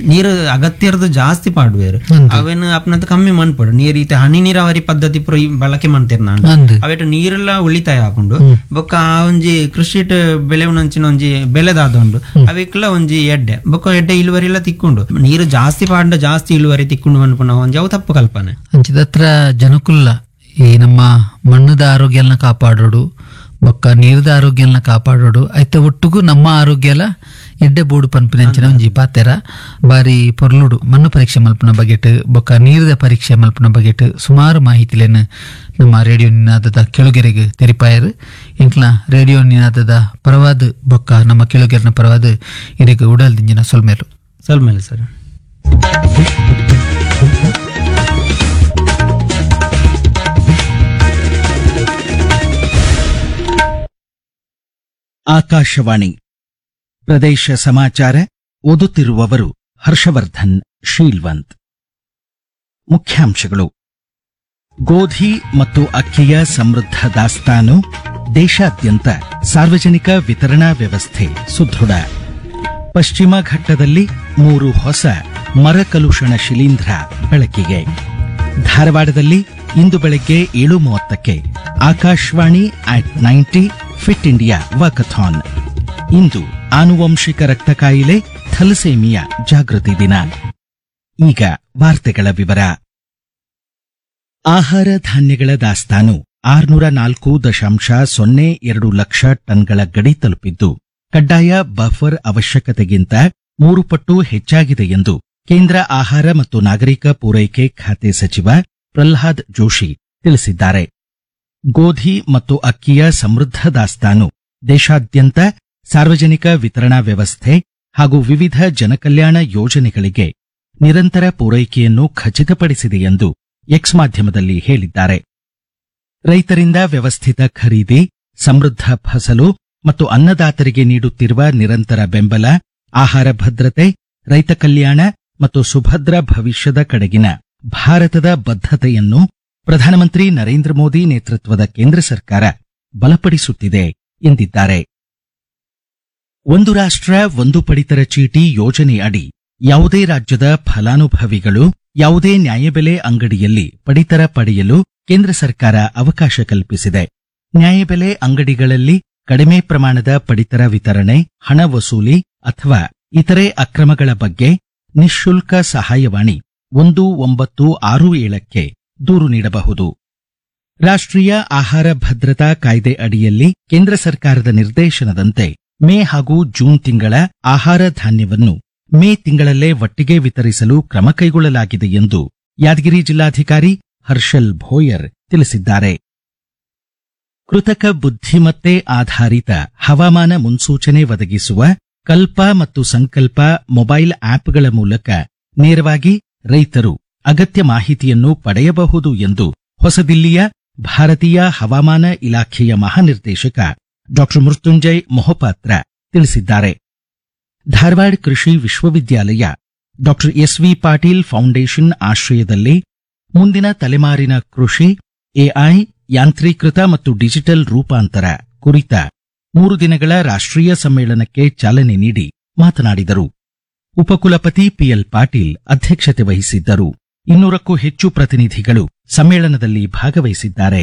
ನೀರು ಅಗತ್ಯರ್ದು ಜಾಸ್ತಿ ಪಾಡುವೇರು, ಅವೇನು ಆಪುನತ್ ಕಮ್ಮಿ ಮನ್ಪೊಡು. ನೀರು ಈತ ಹನಿ ನೀರಾವರಿ ಪದ್ಧತಿ ಪೂರ ಈ ಬಳಕೆ ಮನ್ತೇರ್ನ ಅಂದ್ ಅವೇಟ ನೀರೆಲ್ಲ ಉಳಿತಾಯ ಆಪುಂಡು. ಬೊಕ್ಕ ಆ ಒಂಜಿ ಕೃಷಿಟ್ ಬೆಳೆವುನಂಚಿನ ಒಂಜಿ ಬೆಳೆದಾದ ಉಂಡು ಅವೆಕ್ಲ ಒಂಜಿ ಎಡ್ಡೆ. ಬೊಕ್ಕ ಎಡ್ಡೆ ಇಳುವರಿ ಎಲ್ಲ ತಿಕ್ಕೊಂಡು ನೀರು ಜಾಸ್ತಿ ಪಾಂಡ ಜಾಸ್ತಿ ಇಳುವರಿ ತಿಕ್ಕೊಂಡು ಅನ್ಪುನ ಒಂಜಿ ಅವು ತಪ್ಪು ಕಲ್ಪನೆ. ಅಂಚಿದತ್ರ ಜನಕುಲ್ಲ ಈ ನಮ್ಮ ಮಣ್ಣದ ಆರೋಗ್ಯನ ಕಾಪಾಡೋಡು, ಬೊಕ್ಕ ನೀರ್ದ ಆರೋಗ್ಯನ ಕಾಪಾಡೋಡು, ಐತ ಒಟ್ಟುಗು ನಮ್ಮ ಆರೋಗ್ಯ ಎಲ್ಲ ಎಡ್ಡೆ ಬೋಡು ಪನ್ಪಿನಂಚಿನ ಒಂಜಿ ಪಾತೆರ ಬಾರಿ ಪೊರ್ಲುಡು. ಮಣ್ಣು ಪರೀಕ್ಷೆ ಮಲ್ಪುನ ಬಗೆಟ್ ಬೊಕ್ಕ ನೀರ್ದ ಪರೀಕ್ಷೆ ಮಲ್ಪುನ ಬಗೆಟ್ ಸುಮಾರು ಮಾಹಿತಿಲೇನು ನಮ್ಮ ರೇಡಿಯೋ ನಿನಾದದ ಕೆಳುಗೆರೆಗೆ ತೆರಿಪಾಯರು. ಎಂಕ್ಲ ರೇಡಿಯೋ ನಿನಾದದ ಪರವಾದ ಬೊಕ್ಕ ನಮ್ಮ ಕೆಳುಗೆರೆನ ಪರವಾದ ಇರೆಗ್ ಉಡಲ್ ದಿಂಜಿನ ಸೊಲ್ಮೇಲು. ಸಲ್ಮೇಲೆ ಸರ್. ಆಕಾಶವಾಣಿ ಪ್ರದೇಶ ಸಮಾಚಾರ ಓದುತ್ತಿರುವವರು ಹರ್ಷವರ್ಧನ್ ಶೀಲ್ವಂತ್. ಮುಖ್ಯಾಂಶಗಳು. ಗೋಧಿ ಮತ್ತು ಅಕ್ಕಿಯ ಸಮೃದ್ಧ ದಾಸ್ತಾನು, ದೇಶಾದ್ಯಂತ ಸಾರ್ವಜನಿಕ ವಿತರಣಾ ವ್ಯವಸ್ಥೆ ಸುದೃಢ. ಪಶ್ಚಿಮ ಘಟ್ಟದಲ್ಲಿ ಮೂರು ಹೊಸ ಮರಕಲುಷಣ ಶಿಲೀಂಧ್ರ ಬೆಳಕಿಗೆ. ಧಾರವಾಡದಲ್ಲಿ ಇಂದು ಬೆಳಗ್ಗೆ ಏಳು ಮೂವತ್ತಕ್ಕೆ Akashvani at ninety fit India walkathon. ಇಂದು ಆನುವಂಶಿಕ ರಕ್ತ ಕಾಯಿಲೆ ಥಲಸೇಮಿಯಾ ಜಾಗೃತಿ ದಿನ. ಈಗ ವಾರ್ತೆಗಳ ವಿವರ. ಆಹಾರ ಧಾನ್ಯಗಳ ದಾಸ್ತಾನು ಆರುನೂರ ನಾಲ್ಕು ದಶಾಂಶ ಸೊನ್ನೆ ಎರಡು ಲಕ್ಷ ಟನ್ಗಳ ಗಡಿ ತಲುಪಿದ್ದು, ಕಡ್ಡಾಯ ಬಫರ್ ಅವಶ್ಯಕತೆಗಿಂತ ಮೂರು ಪಟ್ಟು ಹೆಚ್ಚಾಗಿದೆ ಎಂದು ಕೇಂದ್ರ ಆಹಾರ ಮತ್ತು ನಾಗರಿಕ ಪೂರೈಕೆ ಖಾತೆ ಸಚಿವ ಪ್ರಹ್ಲಾದ್ ಜೋಶಿ ತಿಳಿಸಿದ್ದಾರೆ. ಗೋಧಿ ಮತ್ತು ಅಕ್ಕಿಯ ಸಮೃದ್ಧ ದಾಸ್ತಾನು ದೇಶಾದ್ಯಂತ ಸಾರ್ವಜನಿಕ ವಿತರಣಾ ವ್ಯವಸ್ಥೆ ಹಾಗೂ ವಿವಿಧ ಜನಕಲ್ಯಾಣ ಯೋಜನೆಗಳಿಗೆ ನಿರಂತರ ಪೂರೈಕೆಯನ್ನು ಖಚಿತಪಡಿಸಿದೆ ಎಂದು ಎಕ್ಸ್ ಮಾಧ್ಯಮದಲ್ಲಿ ಹೇಳಿದ್ದಾರೆ. ರೈತರಿಂದ ವ್ಯವಸ್ಥಿತ ಖರೀದಿ, ಸಮೃದ್ಧ ಫಸಲು ಮತ್ತು ಅನ್ನದಾತರಿಗೆ ನೀಡುತ್ತಿರುವ ನಿರಂತರ ಬೆಂಬಲ, ಆಹಾರ ಭದ್ರತೆ, ರೈತ ಕಲ್ಯಾಣ ಮತ್ತು ಸುಭದ್ರ ಭವಿಷ್ಯದ ಕಡೆಗಿನ ಭಾರತದ ಬದ್ಧತೆಯನ್ನು ಪ್ರಧಾನಮಂತ್ರಿ ನರೇಂದ್ರ ಮೋದಿ ನೇತೃತ್ವದ ಕೇಂದ್ರ ಸರ್ಕಾರ ಬಲಪಡಿಸುತ್ತಿದೆ ಎಂದಿದ್ದಾರೆ. ಒಂದು ರಾಷ್ಟ್ರ ಒಂದು ಪಡಿತರ ಚೀಟಿ ಯೋಜನೆ ಅಡಿ ಯಾವುದೇ ರಾಜ್ಯದ ಫಲಾನುಭವಿಗಳು ಯಾವುದೇ ನ್ಯಾಯಬೆಲೆ ಅಂಗಡಿಯಲ್ಲಿ ಪಡಿತರ ಪಡೆಯಲು ಕೇಂದ್ರ ಸರ್ಕಾರ ಅವಕಾಶ ಕಲ್ಪಿಸಿದೆ. ನ್ಯಾಯಬೆಲೆ ಅಂಗಡಿಗಳಲ್ಲಿ ಕಡಿಮೆ ಪ್ರಮಾಣದ ಪಡಿತರ ವಿತರಣೆ, ಹಣ ವಸೂಲಿ ಅಥವಾ ಇತರೆ ಅಕ್ರಮಗಳ ಬಗ್ಗೆ ನಿಃಶುಲ್ಕ ಸಹಾಯವಾಣಿ ಒಂದು ಒಂಬತ್ತು ಆರು ಏಳಕ್ಕೆ ದೂರು ನೀಡಬಹುದು. ರಾಷ್ಟ್ರೀಯ ಆಹಾರ ಭದ್ರತಾ ಕಾಯ್ದೆ ಅಡಿಯಲ್ಲಿ ಕೇಂದ್ರ ಸರ್ಕಾರದ ನಿರ್ದೇಶನದಂತೆ ಮೇ ಹಾಗೂ ಜೂನ್ ತಿಂಗಳ ಆಹಾರ ಧಾನ್ಯವನ್ನು ಮೇ ತಿಂಗಳಲ್ಲೇ ಒಟ್ಟಿಗೆ ವಿತರಿಸಲು ಕ್ರಮ ಕೈಗೊಳ್ಳಲಾಗಿದೆ ಎಂದು ಯಾದಗಿರಿ ಜಿಲ್ಲಾಧಿಕಾರಿ ಹರ್ಷಲ್ ಭೋಯರ್ ತಿಳಿಸಿದ್ದಾರೆ. ಕೃತಕ ಬುದ್ಧಿಮತ್ತೆ ಆಧಾರಿತ ಹವಾಮಾನ ಮುನ್ಸೂಚನೆ ಒದಗಿಸುವ ಕಲ್ಪ ಮತ್ತು ಸಂಕಲ್ಪ ಮೊಬೈಲ್ ಆಪ್ಗಳ ಮೂಲಕ ನೇರವಾಗಿ ರೈತರು ಅಗತ್ಯ ಮಾಹಿತಿಯನ್ನು ಪಡೆಯಬಹುದು ಎಂದು ಹೊಸದಿಲ್ಲಿಯ ಭಾರತೀಯ ಹವಾಮಾನ ಇಲಾಖೆಯ ಮಹಾನಿರ್ದೇಶಕ ಡಾ ಮೃತ್ಯುಂಜಯ್ ಮೊಹಪಾತ್ರ ತಿಳಿಸಿದ್ದಾರೆ. ಧಾರವಾಡ ಕೃಷಿ ವಿಶ್ವವಿದ್ಯಾಲಯ ಡಾ S V Patil foundation ಆಶ್ರಯದಲ್ಲಿ ಮುಂದಿನ ತಲೆಮಾರಿನ ಕೃಷಿ, ಎಐ, ಯಾಂತ್ರೀಕೃತ ಮತ್ತು ಡಿಜಿಟಲ್ ರೂಪಾಂತರ ಕುರಿತ ಮೂರು ದಿನಗಳ ರಾಷ್ಟ್ರೀಯ ಸಮ್ಮೇಳನಕ್ಕೆ ಚಾಲನೆ ನೀಡಿ ಮಾತನಾಡಿದರು. ಉಪಕುಲಪತಿ ಪಿಎಲ್ ಪಾಟೀಲ್ ಅಧ್ಯಕ್ಷತೆ ವಹಿಸಿದ್ದರು. ಇನ್ನೂರಕ್ಕೂ ಹೆಚ್ಚು ಪ್ರತಿನಿಧಿಗಳು ಸಮ್ಮೇಳನದಲ್ಲಿ ಭಾಗವಹಿಸಿದ್ದಾರೆ.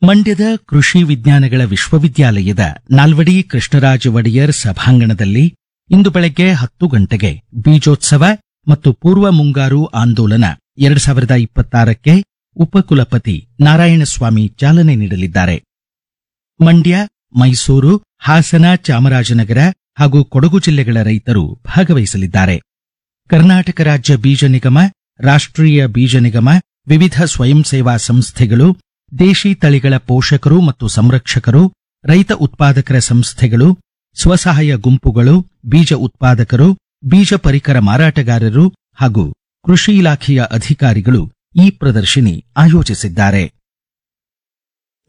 ಮಂಡ್ಯದ ಕೃಷಿ ವಿಜ್ಞಾನಗಳ ವಿಶ್ವವಿದ್ಯಾಲಯದ ನಾಲ್ವಡಿ ಕೃಷ್ಣರಾಜ ಒಡೆಯರ್ ಸಭಾಂಗಣದಲ್ಲಿ ಇಂದು ಬೆಳಗ್ಗೆ ಹತ್ತು ಗಂಟೆಗೆ ಬೀಜೋತ್ಸವ ಮತ್ತು ಪೂರ್ವ ಮುಂಗಾರು ಆಂದೋಲನ ಎರಡು ಸಾವಿರದ ಇಪ್ಪತ್ತಾರಕ್ಕೆ ಉಪಕುಲಪತಿ ನಾರಾಯಣಸ್ವಾಮಿ ಚಾಲನೆ ನೀಡಲಿದ್ದಾರೆ. ಮಂಡ್ಯ, ಮೈಸೂರು, ಹಾಸನ, ಚಾಮರಾಜನಗರ ಹಾಗೂ ಕೊಡಗು ಜಿಲ್ಲೆಗಳ ರೈತರು ಭಾಗವಹಿಸಲಿದ್ದಾರೆ. ಕರ್ನಾಟಕ ರಾಜ್ಯ ಬೀಜ ನಿಗಮ, ರಾಷ್ಟ್ರೀಯ ಬೀಜ ನಿಗಮ, ವಿವಿಧ ಸ್ವಯಂ ಸೇವಾ ಸಂಸ್ಥೆಗಳು, ದೇಶಿ ತಳಿಗಳ ಪೋಷಕರು ಮತ್ತು ಸಂರಕ್ಷಕರು, ರೈತ ಉತ್ಪಾದಕರ ಸಂಸ್ಥೆಗಳು, ಸ್ವಸಹಾಯ ಗುಂಪುಗಳು, ಬೀಜ ಉತ್ಪಾದಕರು, ಬೀಜ ಪರಿಕರ ಮಾರಾಟಗಾರರು ಹಾಗೂ ಕೃಷಿ ಇಲಾಖೆಯ ಅಧಿಕಾರಿಗಳು ಈ ಪ್ರದರ್ಶಿನಿ ಆಯೋಜಿಸಿದ್ದಾರೆ.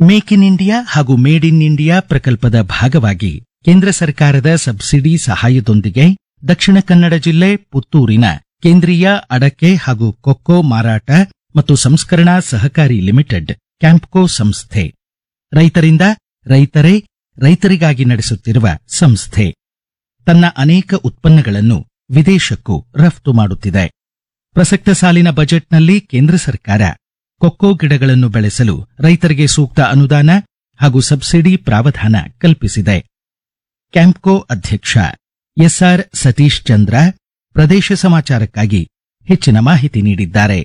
Make in India ಹಾಗೂ made in India ಪ್ರಕಲ್ಪದ ಭಾಗವಾಗಿ ಕೇಂದ್ರ ಸರ್ಕಾರದ ಸಬ್ಸಿಡಿ ಸಹಾಯದೊಂದಿಗೆ ದಕ್ಷಿಣ ಕನ್ನಡ ಜಿಲ್ಲೆ ಪುತ್ತೂರಿನ ಕೇಂದ್ರೀಯ ಅಡಕೆ ಹಾಗೂ ಕೊಕ್ಕೋ ಮಾರಾಟ ಮತ್ತು ಸಂಸ್ಕರಣಾ ಸಹಕಾರಿ ಲಿಮಿಟೆಡ್ ಕ್ಯಾಂಪ್ಕೋ ಸಂಸ್ಥೆ ರೈತರಿಂದ ರೈತರೇ ರೈತರಿಗಾಗಿ ನಡೆಸುತ್ತಿರುವ ಸಂಸ್ಥೆ ತನ್ನ ಅನೇಕ ಉತ್ಪನ್ನಗಳನ್ನು ವಿದೇಶಕ್ಕೂ ರಫ್ತು ಮಾಡುತ್ತಿದೆ. ಪ್ರಸಕ್ತ ಸಾಲಿನ ಬಜೆಟ್ನಲ್ಲಿ ಕೇಂದ್ರ ಸರ್ಕಾರ ಕೊಕ್ಕೋ ಗಿಡಗಳನ್ನು ಬೆಳೆಸಲು ರೈತರಿಗೆ ಸೂಕ್ತ ಅನುದಾನ ಹಾಗೂ ಸಬ್ಸಿಡಿ ಪ್ರಾವಧಾನ ಕಲ್ಪಿಸಿದೆ. ಕ್ಯಾಂಪ್ಕೋ ಅಧ್ಯಕ್ಷ ಎಸ್ಆರ್ ಸತೀಶ್ ಚಂದ್ರ ಪ್ರದೇಶ ಸಮಾಚಾರಕ್ಕಾಗಿ ಹೆಚ್ಚಿನ ಮಾಹಿತಿ ನೀಡಿದ್ದಾರೆ.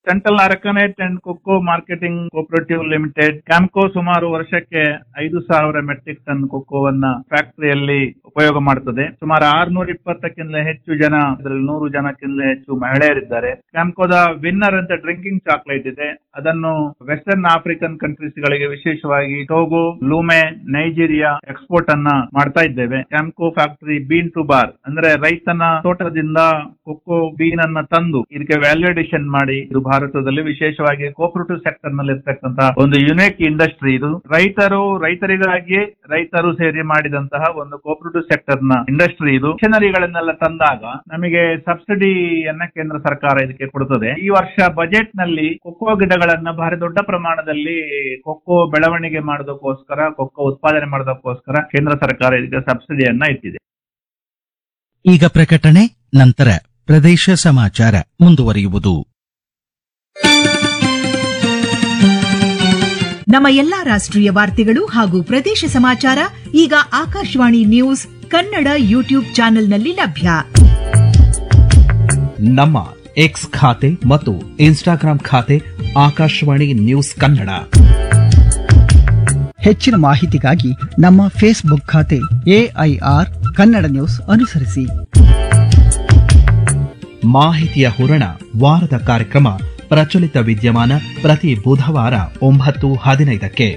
Central arecanut and cocoa marketing cooperative limited Campco ಸುಮಾರು ವರ್ಷಕ್ಕೆ ಐದು ಸಾವಿರ ಮೆಟ್ರಿಕ್ ಟನ್ ಕೊಕ್ಕೋವನ್ನ ಫ್ಯಾಕ್ಟರಿಯಲ್ಲಿ ಉಪಯೋಗ ಮಾಡುತ್ತದೆ. ಸುಮಾರು ಆರ್ನೂರ ಇಪ್ಪತ್ತಕ್ಕಿಂತ ಹೆಚ್ಚು ಜನ, ಅದರಲ್ಲಿ ನೂರು ಜನಕ್ಕಿಂತ ಹೆಚ್ಚು ಮಹಿಳೆಯರಿದ್ದಾರೆ. ಕ್ಯಾಂಪ್ಕೋದ ವಿನ್ನರ್ ಅಂತ ಡ್ರಿಂಕಿಂಗ್ ಚಾಕ್ಲೇಟ್ ಇದೆ. ಅದನ್ನು western African countries ಗಳಿಗೆ, ವಿಶೇಷವಾಗಿ ಟೋಗೋ, ಲೂಮೆ, ನೈಜೀರಿಯಾ ಎಕ್ಸ್ಪೋರ್ಟ್ ಅನ್ನ ಮಾಡ್ತಾ ಇದ್ದೇವೆ. Campco factory bean to bar ಅಂದ್ರೆ ರೈತನ ತೋಟದಿಂದ ಕೊಕ್ಕೋ ಬೀನ್ ಅನ್ನ ತಂದು ಇದಕ್ಕೆ ವ್ಯಾಲ್ಯೂ ಅಡಿಷನ್ ಮಾಡಿ ಇದು ಭಾರತದಲ್ಲಿ ವಿಶೇಷವಾಗಿ ಕೋಪರೇಟಿವ್ ಸೆಕ್ಟರ್ ನಲ್ಲಿ ಇರ್ತಕ್ಕಂತಹ ಒಂದು ಯುನಿಕ್ ಇಂಡಸ್ಟ್ರಿ ಇದು. ರೈತರು ರೈತರಿಗಾಗಿ ರೈತರು ಸೇರಿ ಮಾಡಿದಂತಹ ಒಂದು ಕೋಪರೇಟಿವ್ ಸೆಕ್ಟರ್ ನ ಇಂಡಸ್ಟ್ರಿ ಇದು. ಮಿಷನರಿಗಳನ್ನೆಲ್ಲ ತಂದಾಗ ನಮಗೆ ಸಬ್ಸಿಡಿಯನ್ನ ಕೇಂದ್ರ ಸರ್ಕಾರ ಇದಕ್ಕೆ ಕೊಡುತ್ತದೆ. ಈ ವರ್ಷ ಬಜೆಟ್ ನಲ್ಲಿ ಕೊಕ್ಕೋ ಗಿಡಗಳನ್ನ ಭಾರಿ ದೊಡ್ಡ ಪ್ರಮಾಣದಲ್ಲಿ ಕೊಕ್ಕೋ ಬೆಳವಣಿಗೆ ಮಾಡೋದಕ್ಕೋಸ್ಕರ, ಕೊಕ್ಕೋ ಉತ್ಪಾದನೆ ಮಾಡೋದಕ್ಕೋಸ್ಕರ ಕೇಂದ್ರ ಸರ್ಕಾರ ಇದಕ್ಕೆ ಸಬ್ಸಿಡಿಯನ್ನ ಇಟ್ಟಿದೆ. ಈಗ ಪ್ರಕಟಣೆ, ನಂತರ ಪ್ರದೇಶ ಸಮಾಚಾರ ಮುಂದುವರಿಯುವುದು. ನಮ್ಮ ಎಲ್ಲಾ ರಾಷ್ಟ್ರೀಯ ವಾರ್ತೆಗಳು ಹಾಗೂ ಪ್ರದೇಶ ಸಮಾಚಾರ ಈಗ ಆಕಾಶವಾಣಿ ನ್ಯೂಸ್ ಕನ್ನಡ ಯೂಟ್ಯೂಬ್ ಚಾನೆಲ್ನಲ್ಲಿ ಲಭ್ಯ. ನಮ್ಮ ಎಕ್ಸ್ ಖಾತೆ ಮತ್ತು ಇನ್ಸ್ಟಾಗ್ರಾಂ ಖಾತೆ ಆಕಾಶವಾಣಿ ನ್ಯೂಸ್ ಕನ್ನಡ. ಹೆಚ್ಚಿನ ಮಾಹಿತಿಗಾಗಿ ನಮ್ಮ ಫೇಸ್ಬುಕ್ ಖಾತೆ ಎಐಆರ್ ಕನ್ನಡ ನ್ಯೂಸ್ ಅನುಸರಿಸಿ. ಮಾಹಿತಿಯ ಹೂರಣ ವಾರದ ಕಾರ್ಯಕ್ರಮ ಪ್ರಚಲಿತ ವಿದ್ಯಮಾನ ಪ್ರತಿ ಬುಧವಾರ ಒಂಬತ್ತು ಹದಿನೈದಕ್ಕೆ.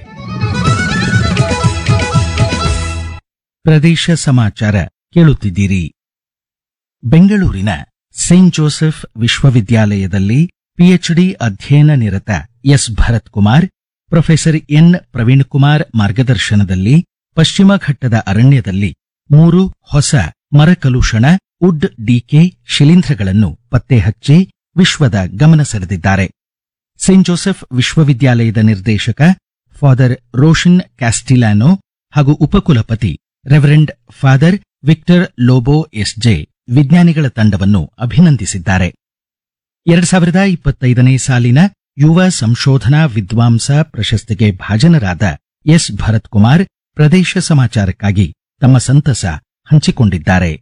ಪ್ರದೇಶ ಸಮಾಚಾರ ಕೇಳುತ್ತಿದ್ದೀರಿ. ಬೆಂಗಳೂರಿನ ಸೇಂಟ್ ಜೋಸೆಫ್ ವಿಶ್ವವಿದ್ಯಾಲಯದಲ್ಲಿ ಪಿಎಚ್ಡಿ ಅಧ್ಯಯನ ನಿರತ S Bharath Kumar, professor N Praveen Kumar ಮಾರ್ಗದರ್ಶನದಲ್ಲಿ ಪಶ್ಚಿಮ ಘಟ್ಟದ ಅರಣ್ಯದಲ್ಲಿ ಮೂರು ಹೊಸ ಮರಕಲುಷಣ ವುಡ್ ಡಿಕೆ ಶಿಲೀಂಧ್ರಗಳನ್ನು ಪತ್ತೆ ಹಚ್ಚಿ ವಿಶ್ವದ ಗಮನ ಸೆಳೆದಿದ್ದಾರೆ. ಸೇಂಟ್ ಜೋಸೆಫ್ ವಿಶ್ವವಿದ್ಯಾಲಯದ ನಿರ್ದೇಶಕ ಫಾದರ್ ರೋಷನ್ ಕ್ಯಾಸ್ಟಿಲಾನೋ ಹಾಗೂ ಉಪಕುಲಪತಿ reverend father Victor Lobo SJ ವಿಜ್ಞಾನಿಗಳ ತಂಡವನ್ನು ಅಭಿನಂದಿಸಿದ್ದಾರೆ. ಎರಡ್ ಸಾವಿರದ ಇಪ್ಪತ್ತೈದನೇ ಸಾಲಿನ ಯುವ ಸಂಶೋಧನಾ ವಿದ್ವಾಂಸ ಪ್ರಶಸ್ತಿಗೆ ಭಾಜನರಾದ ಎಸ್ ಭರತ್ ಕುಮಾರ್ ಪ್ರದೇಶ ಸಮಾಚಾರಕ್ಕಾಗಿ ತಮ್ಮ ಸಂತಸ ಹಂಚಿಕೊಂಡಿದ್ದಾರೆ.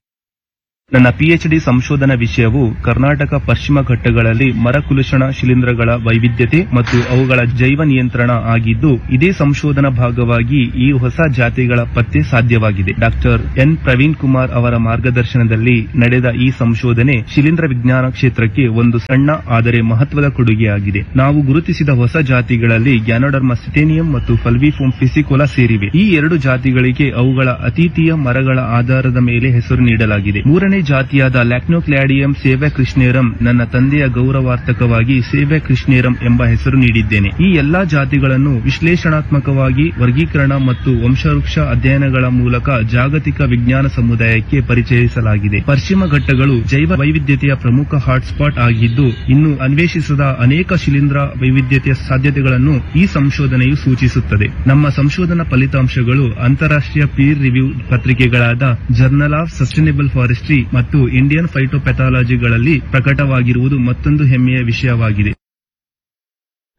ನನ್ನ ಪಿಎಚ್ಡಿ ಸಂಶೋಧನಾ ವಿಷಯವು ಕರ್ನಾಟಕ ಪಶ್ಚಿಮ ಘಟ್ಟಗಳಲ್ಲಿ ಮರಕುಲುಷಣ ಶಿಲೀಂಧ್ರಗಳ ವೈವಿಧ್ಯತೆ ಮತ್ತು ಅವುಗಳ ಜೈವ ನಿಯಂತ್ರಣ ಆಗಿದ್ದು, ಇದೇ ಸಂಶೋಧನಾ ಭಾಗವಾಗಿ ಈ ಹೊಸ ಜಾತಿಗಳ ಪತ್ತೆ ಸಾಧ್ಯವಾಗಿದೆ. ಡಾಕ್ಟರ್ ಎನ್ ಪ್ರವೀಣ್ ಕುಮಾರ್ ಅವರ ಮಾರ್ಗದರ್ಶನದಲ್ಲಿ ನಡೆದ ಈ ಸಂಶೋಧನೆ ಶಿಲೀಂಧ್ರ ವಿಜ್ಞಾನ ಕ್ಷೇತ್ರಕ್ಕೆ ಒಂದು ಸಣ್ಣ ಆದರೆ ಮಹತ್ವದ ಕೊಡುಗೆಯಾಗಿದೆ. ನಾವು ಗುರುತಿಸಿದ ಹೊಸ ಜಾತಿಗಳಲ್ಲಿ ಗ್ಯಾನೋಡರ್ಮಾ ಸಿಟೇನಿಯಂ ಮತ್ತು ಫಲ್ವಿಫೋಮ್ ಫಿಸಿಕೋಲಾ ಸೇರಿವೆ. ಈ ಎರಡು ಜಾತಿಗಳಿಗೆ ಅವುಗಳ ಅತಿಥಿಯ ಮರಗಳ ಆಧಾರದ ಮೇಲೆ ಹೆಸರು ನೀಡಲಾಗಿದೆ. ಮೂರನೇ ಜಾತಿಯಾದ ಲ್ಯಾಕ್ನೋಕ್ಲಾಡಿಯಂ ಸೇವ್ಯಾಕೃಷ್ಣೇರಂ ನನ್ನ ತಂದೆಯ ಗೌರವಾರ್ಥಕವಾಗಿ ಸೇವ್ಯಾಕೃಷ್ಣೇರಂ ಎಂಬ ಹೆಸರು ನೀಡಿದ್ದೇನೆ. ಈ ಎಲ್ಲಾ ಜಾತಿಗಳನ್ನು ವಿಶ್ಲೇಷಣಾತ್ಮಕವಾಗಿ ವರ್ಗೀಕರಣ ಮತ್ತು ವಂಶವೃಕ್ಷ ಅಧ್ಯಯನಗಳ ಮೂಲಕ ಜಾಗತಿಕ ವಿಜ್ಞಾನ ಸಮುದಾಯಕ್ಕೆ ಪರಿಚಯಿಸಲಾಗಿದೆ. ಪಶ್ಚಿಮ ಘಟ್ಟಗಳು ಜೈವ ವೈವಿಧ್ಯತೆಯ ಪ್ರಮುಖ ಹಾಟ್ಸ್ಪಾಟ್ ಆಗಿದ್ದು, ಇನ್ನು ಅನ್ವೇಷಿಸದ ಅನೇಕ ಶಿಲೀಂಧ್ರ ವೈವಿಧ್ಯತೆಯ ಸಾಧ್ಯತೆಗಳನ್ನು ಈ ಸಂಶೋಧನೆಯು ಸೂಚಿಸುತ್ತದೆ. ನಮ್ಮ ಸಂಶೋಧನಾ ಫಲಿತಾಂಶಗಳು ಅಂತಾರಾಷ್ಟ್ರೀಯ ಪೀರ್ ರಿವ್ಯೂ ಪತ್ರಿಕೆಗಳಾದ ಜರ್ನಲ್ ಆಫ್ ಸಸ್ಟೈನಬಲ್ ಫಾರೆಸ್ಟ್ರಿ ಮತ್ತು ಇಂಡಿಯನ್ ಫೈಟೋಪೆಥಾಲಜಿಗಳಲ್ಲಿ ಪ್ರಕಟವಾಗಿರುವುದು ಮತ್ತೊಂದು ಹೆಮ್ಮೆಯ ವಿಷಯವಾಗಿದೆ.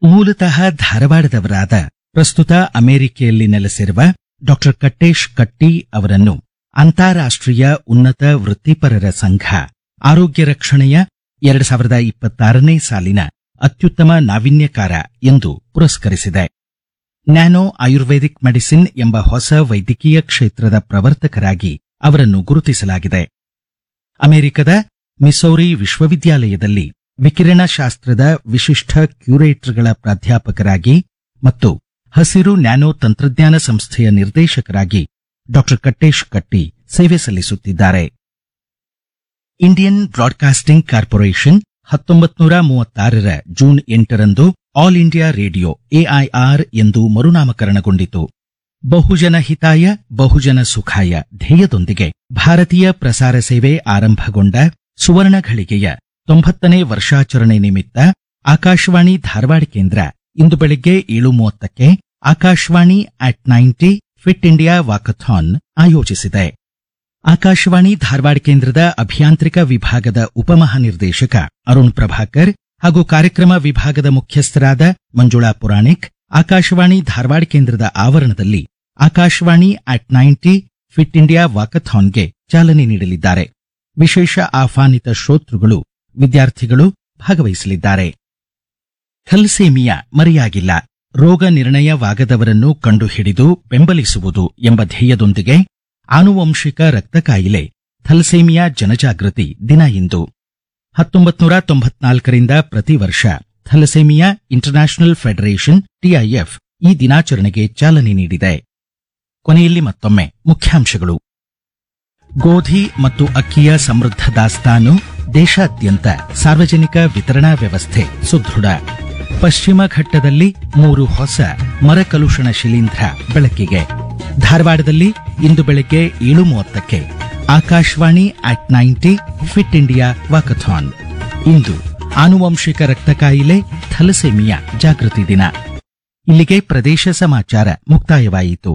ಮೂಲತಃ ಧಾರವಾಡದವರಾದ ಪ್ರಸ್ತುತ ಅಮೆರಿಕೆಯಲ್ಲಿ ನೆಲೆಸಿರುವ ಡಾಕ್ಟರ್ ಕಟ್ಟೇಶ್ ಕಟ್ಟಿ ಅವರನ್ನು ಅಂತಾರಾಷ್ಟ್ರೀಯ ಉನ್ನತ ವೃತ್ತಿಪರರ ಸಂಘ ಆರೋಗ್ಯ ರಕ್ಷಣೆಯ ಎರಡು ಸಾವಿರದ ಇಪ್ಪತ್ತಾರನೇ ಸಾಲಿನ ಅತ್ಯುತ್ತಮ ನಾವೀನ್ಯಕಾರ ಎಂದು ಪುರಸ್ಕರಿಸಿದೆ. ನ್ಯಾನೋ ಆಯುರ್ವೇದಿಕ್ ಮೆಡಿಸಿನ್ ಎಂಬ ಹೊಸ ವೈದ್ಯಕೀಯ ಕ್ಷೇತ್ರದ ಪ್ರವರ್ತಕರಾಗಿ ಅವರನ್ನು ಗುರುತಿಸಲಾಗಿದೆ. ಅಮೆರಿಕದ ಮಿಸೌರಿ ವಿಶ್ವವಿದ್ಯಾಲಯದಲ್ಲಿ ವಿಕಿರಣಶಾಸ್ತ್ರದ ವಿಶಿಷ್ಟ ಕ್ಯೂರೇಟರ್ಗಳ ಪ್ರಾಧ್ಯಾಪಕರಾಗಿ ಮತ್ತು ಹಸಿರು ನ್ಯಾನೋ ತಂತ್ರಜ್ಞಾನ ಸಂಸ್ಥೆಯ ನಿರ್ದೇಶಕರಾಗಿ ಡಾಕ್ಟರ್ ಕಟ್ಟೇಶ್ ಕಟ್ಟಿ ಸೇವೆ ಸಲ್ಲಿಸುತ್ತಿದ್ದಾರೆ. ಇಂಡಿಯನ್ ಬ್ರಾಡ್ಕಾಸ್ಟಿಂಗ್ ಕಾರ್ಪೊರೇಷನ್ ಹತ್ತೊಂಬತ್ತು ನೂರ ಮೂವತ್ತಾರರ ಜೂನ್ ಎಂಟರಂದು ಆಲ್ ಇಂಡಿಯಾ ರೇಡಿಯೋ ಎಐಆರ್ ಎಂದು ಮರುನಾಮಕರಣಗೊಂಡಿತು. ಬಹುಜನ ಹಿತಾಯ ಬಹುಜನ ಸುಖಾಯ ಧ್ಯೇಯದೊಂದಿಗೆ ಭಾರತೀಯ ಪ್ರಸಾರ ಸೇವೆ ಆರಂಭಗೊಂಡ ಸುವರ್ಣ ಘಳಿಗೆಯ ತೊಂಬತ್ತನೇ ವರ್ಷಾಚರಣೆ ನಿಮಿತ್ತ ಆಕಾಶವಾಣಿ ಧಾರವಾಡ ಕೇಂದ್ರ ಇಂದು ಬೆಳಗ್ಗೆ ಏಳು ಮೂವತ್ತಕ್ಕೆ Akashvani at ninety fit India walkathon ಆಯೋಜಿಸಿದೆ. ಆಕಾಶವಾಣಿ ಧಾರವಾಡ ಕೇಂದ್ರದ ಅಭಿಯಾಂತ್ರಿಕ ವಿಭಾಗದ ಉಪಮಹಾನಿರ್ದೇಶಕ ಅರುಣ್ ಪ್ರಭಾಕರ್ ಹಾಗೂ ಕಾರ್ಯಕ್ರಮ ವಿಭಾಗದ ಮುಖ್ಯಸ್ಥರಾದ ಮಂಜುಳಾ ಪುರಾಣಿಕ್ ಆಕಾಶವಾಣಿ ಧಾರವಾಡ ಕೇಂದ್ರದ ಆವರಣದಲ್ಲಿ Akashvani at ninety fit India ವಾಕಥಾನ್ಗೆ ಚಾಲನೆ ನೀಡಲಿದ್ದಾರೆ. ವಿಶೇಷ ಆಹ್ವಾನಿತ ಶ್ರೋತೃಗಳು, ವಿದ್ಯಾರ್ಥಿಗಳು ಭಾಗವಹಿಸಲಿದ್ದಾರೆ. ಥಲಸೇಮಿಯಾ ಮರೆಯಾಗಿಲ್ಲ, ರೋಗ ನಿರ್ಣಯವಾಗದವರನ್ನು ಕಂಡುಹಿಡಿದು ಬೆಂಬಲಿಸುವುದು ಎಂಬ ಧ್ಯೇಯದೊಂದಿಗೆ ಆನುವಂಶಿಕ ರಕ್ತ ಕಾಯಿಲೆ ಥಲಸೇಮಿಯಾ ಜನಜಾಗೃತಿ ದಿನ ಇಂದು. ಹತ್ತೊಂಬತ್ತು ನೂರ ತೊಂಬತ್ನಾಲ್ಕರಿಂದ ಪ್ರತಿ ವರ್ಷ ಥಲಸೇಮಿಯಾ ಇಂಟರ್ನ್ಯಾಷನಲ್ ಫೆಡರೇಷನ್ ಟಿಐಎಫ್ ಈ ದಿನಾಚರಣೆಗೆ ಚಾಲನೆ ನೀಡಿದೆ. ಕೊನೆಯಲ್ಲಿ ಮತ್ತೊಮ್ಮೆ ಮುಖ್ಯಾಂಶಗಳು. ಗೋಧಿ ಮತ್ತು ಅಕ್ಕಿಯ ಸಮೃದ್ಧ ದಾಸ್ತಾನು, ದೇಶಾದ್ಯಂತ ಸಾರ್ವಜನಿಕ ವಿತರಣಾ ವ್ಯವಸ್ಥೆ ಸುದೃಢ. ಪಶ್ಚಿಮ ಘಟ್ಟದಲ್ಲಿ ಮೂರು ಹೊಸ ಮರಕಲುಷಣ ಶಿಲೀಂಧ್ರ ಬೆಳಕಿಗೆ. ಧಾರವಾಡದಲ್ಲಿ ಇಂದು ಬೆಳಗ್ಗೆ ಏಳು ಮೂವತ್ತಕ್ಕೆ Akashvani at ninety fit India walkathon. ಇಂದು ಆನುವಂಶಿಕ ರಕ್ತ ಕಾಯಿಲೆ ಥಲಸೇಮಿಯಾ ಜಾಗೃತಿ ದಿನ. ಇಲ್ಲಿಗೆ ಪ್ರದೇಶ ಸಮಾಚಾರ ಮುಕ್ತಾಯವಾಯಿತು.